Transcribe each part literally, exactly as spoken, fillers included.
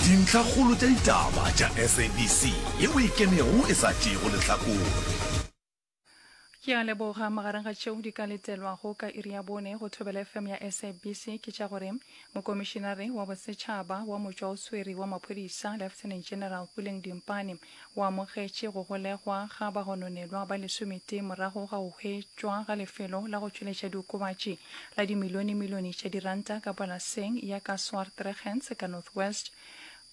Dintlhakgolo tša ditaba tša S A B C yeo e kemego e sa tšeego lehlakore. Ke a leboga. Magareng ga tšeo di ka letelwago ka iri ya bone go Thobela F M ya S A B C ke tša gore Mokomišinare wa Bosetšhaba wa Motšwaoswere wa Maphodisa, Lieutenant General Puleng Dimpane, o amogetše go golegwa ga bagononelwa ba lesometee morago ga go hwetšwa ga lefelo la go tšweletša diokobatši la dimilionemilione tša diranta ka polaseng ya ka Swartruggens ka North West.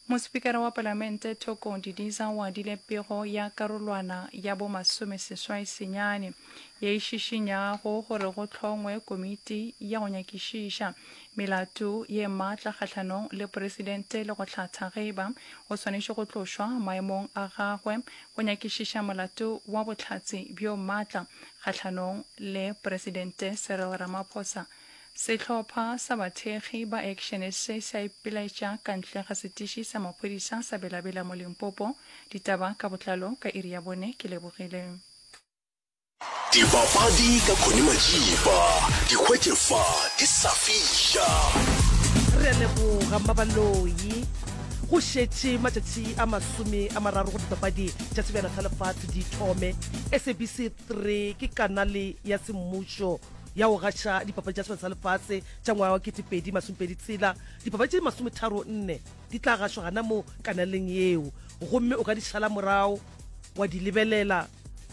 Mospikara wa Palamente Thoko Didiza o adile pego ya karolwana ya bo masomeseswai senyane ye e šišinyago gore go hlongwe komiti ya go nyakišiša melato ye maatla kgahlanong le presidente le go hlatha ge eba o swanetše go tlošwa maemong a gagwe go nyakišiša molato wa bohlatse bjo maatla kgahlanong le Presidente Cyril Ramaphosa. Sehlopha sa bathekgi ba Action S A se a ipilaetša ka ntle ga setiši sa maphodisa sa Bela-Bela mo Limpopo. Ditaba ka botlalo ka iri ya bone. Ke lebogile. Dipapadi ka Connie Majiba, di hwetše fa di sa fiša. Re a leboga Mmabaloi. Go šetše matšatši a masome a mararo gore dipapadi tša Sebjana sa Lefase di thome. S A B C three ke kanale ya semmušo ya go gaša dipapadi tša Sebjana sa Lefase tša ngwaga wa ketepedi masomepedi tshela. Dipapadi tše masometharo nne di tla gašwa gana mo kanaleng yeo, gomme o ka di šala morago wa di lebelela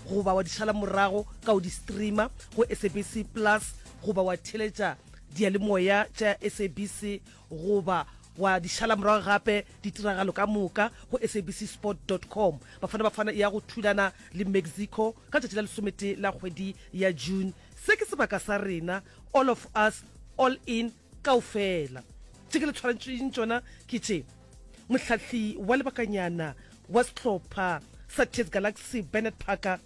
goba wa di šala morago ka go di streama go S A B C Plus, goba wa theeletša diyalemoya tša S A B C, goba wa di šala morago gape ditiragalo ka moka go S A B C sport dot com. Bafana Bafana e ya go thulana le Mexico ka letšatši la lesometee la kgwedi ya June. Se ke sebaka sa rena, all of us, all in, kaofela. Tše ke le tshwarantšeng tšona ke tše: Mohlahli wa lebakanyana wa sehlopha sa T S Galaxy Bernard Parker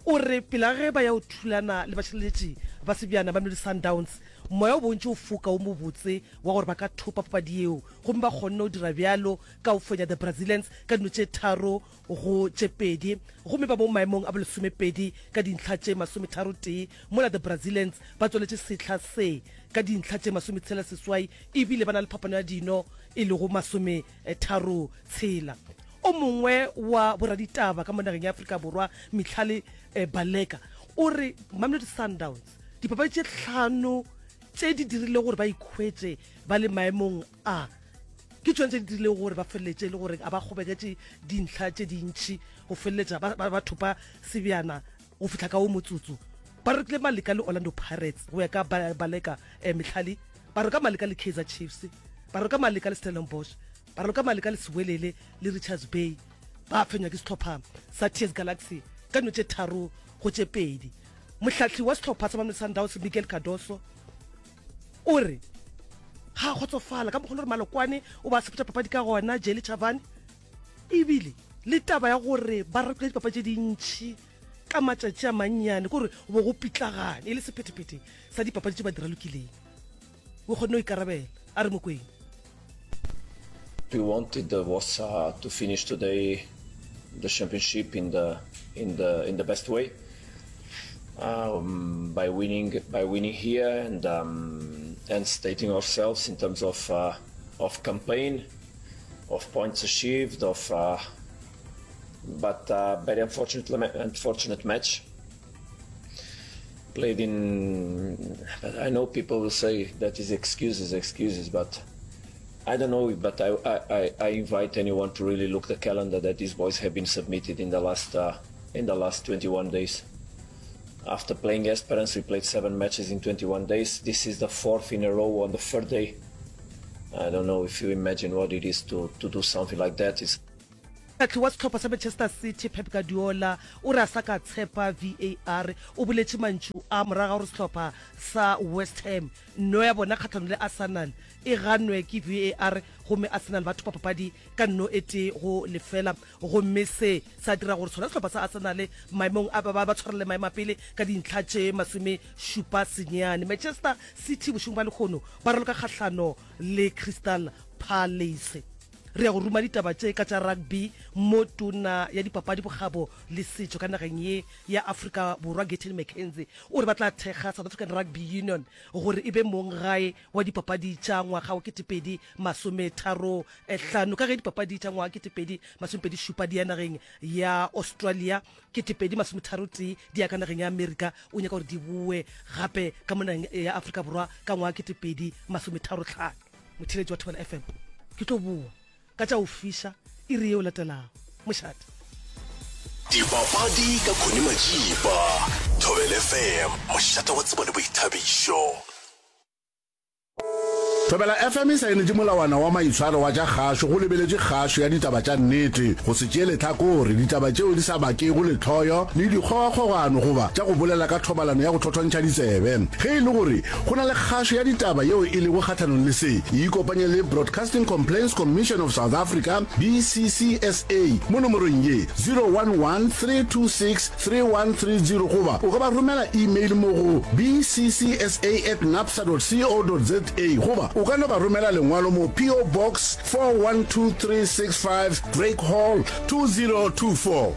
o re pele ga ge ba ya go thulana le bašireletši ba sebjana ba Mamelodi Sundowns, moya o bontši o foka o mobotse wa gore ba ka thopa papadi yeo, gomme ba kgonne go dira bjalo ka go fenya The Brazilians ka dino tše tharo go tše pedi, gomme ba mo maemong a bolesomepedi ka dintlha tše masometharotee, mola The Brazilians ba tsweletše sehla se ka dintlha tše masometshela seswai ebile ba na le phapano ya dino e lego masometharo tshela. O mongwe wa boraditaba ka mo nageng ya Afrika Borwa, Mihlali Baleka, o re Mamelodi Sundowns dipapadi tše hlano tše di dirile gore ba ikhwetše ba le maemong a ke tšona tše di dirilego gore ba feleletše e le gore a ba kgobeketše dintlha tše dintši go feleletša ba, ba, ba thopa sebjana go fihla ka wo motsotso. Ba rekile Maleka le Orlando Pirates go ya ka Baleka eh, Mihlali, ba reka Maleka le Kaizer Chiefs, ba reka Maleka le Stellenbosch, ba reka Maleka le Siwelele le Richards Bay, ba fenywa ke sehlopha sa T S Galaxy ka dino tše tharo go tše pedi. Mohlahli wa sehlopha sa Mamelodi Sundowns Miguel Cardoso o re ga a kgotsofala ka mokgwa le gore Malokwane o ba sepetša papadi ka gona Jele Chavani, ebile le taba ya gore ba rekile dipapadi tše dintši ka matšatši a mannyane, kore bo go pitlagane e le sephethephethe sa dipapadi tše ba di ralokileng. O kgonne go ikarabela, a re Mokwena. We wanted was uh, to finish today the championship in the in the in the best way um, by winning by winning here and um, and stating ourselves in terms of uh, of campaign, of points achieved, of uh, but uh, very unfortunate unfortunate match played in. But I know people will say that is excuses, excuses, but I don't know, but I, I, I invite anyone to really look the calendar that these boys have been submitted in the last uh, in the last twenty-one days. After playing Esperance, we played seven matches in twenty-one days. This is the fourth in a row on the third day. I don't know if you imagine what it is to, to do something like that. It's Mohlahli wa sehlopha sa Manchester City Pep Guardiola o re a sa ka tshepa V A R. O boletše mantšu a morago ga gore sehlopha sa West Ham nno ya bona kgahlanong le Arsenal e ganwe ke V A R, gomme Arsenal ba thopa papadi ka nno e tee go lefela, gomme se sa dira gore sona sehlopha sa Arsenal maemong a ba ba tshwarele maemo a pele ka dintlha tše masome šupa senyane. Manchester City bošegong ba lehono ba raloka kgahlano le Crystal Palace. Re ya go ruma ditaba tše ka tša rugby mo Tona ya Dipapadi, Bokgabo le Setšo ka nageng ye ya Afrika Borwa Gayton McKenzie o re ba tla thekga South African Rugby Union gore e be monggae wa dipapadi tša ngwaga wa ketepedi masometharo hlano ka ge dipapadi tša ngwaga ketepedi masomepedi šupa di ya nageng ya Australia ketepedi masometharo tee di ya ka nageng ya Amerika o nyaka gore di boe gape ka mo nageng ya Afrika Borwa ka ngwaga ketepedi masometharo hlano. Motheeletši wa Thobela F M ke tlo boa ka tša go fiša iri yeo latelago. Mošate. Dipapadi ka Connie Majiba. Thobela F M, mošate wa tsebo le boithabišo. Thobela F M e saenetše molawana wa maitshwaro wa tša kgašo go lebeletše kgašo ya ditaba tša nnete, go se tšee lehlakore, ditaba tšeo di sa bakego lehloyo le dikgogakgogano goba tša go bolela ka thobalano ya go thothontšha ditsebe. Ge e le gore go na le kgašo ya ditaba yeo e lego kgahlanong le se, ikopanye le Broadcasting Complaints Commission of South Africa, B C C S A, mo nomorong ye, zero one one three two six three one three zero goba o ka ba romela email mo go B C C S A at napsa dot co dot za goba o ka no ba romela lengwalo mo P O Box four one two three six five Drake Hall two zero two four.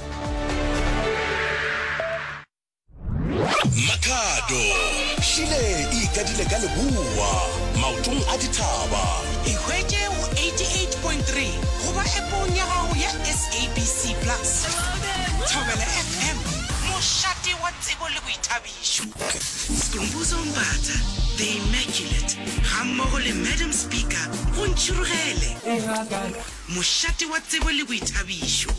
Makhado Šile e ikadile ka leboa maotong a dithaba. Ikhwetše go eighty-eight point three goba appong ya gago ya S A B C Plus. Thobela F M, mošate wa tsebo le boithabišo. Skhumbuzo Mbatha, The Immaculate, gammogo le Madam Speaker go Ntšhirogele, mošate wa tsebo le boithabišo.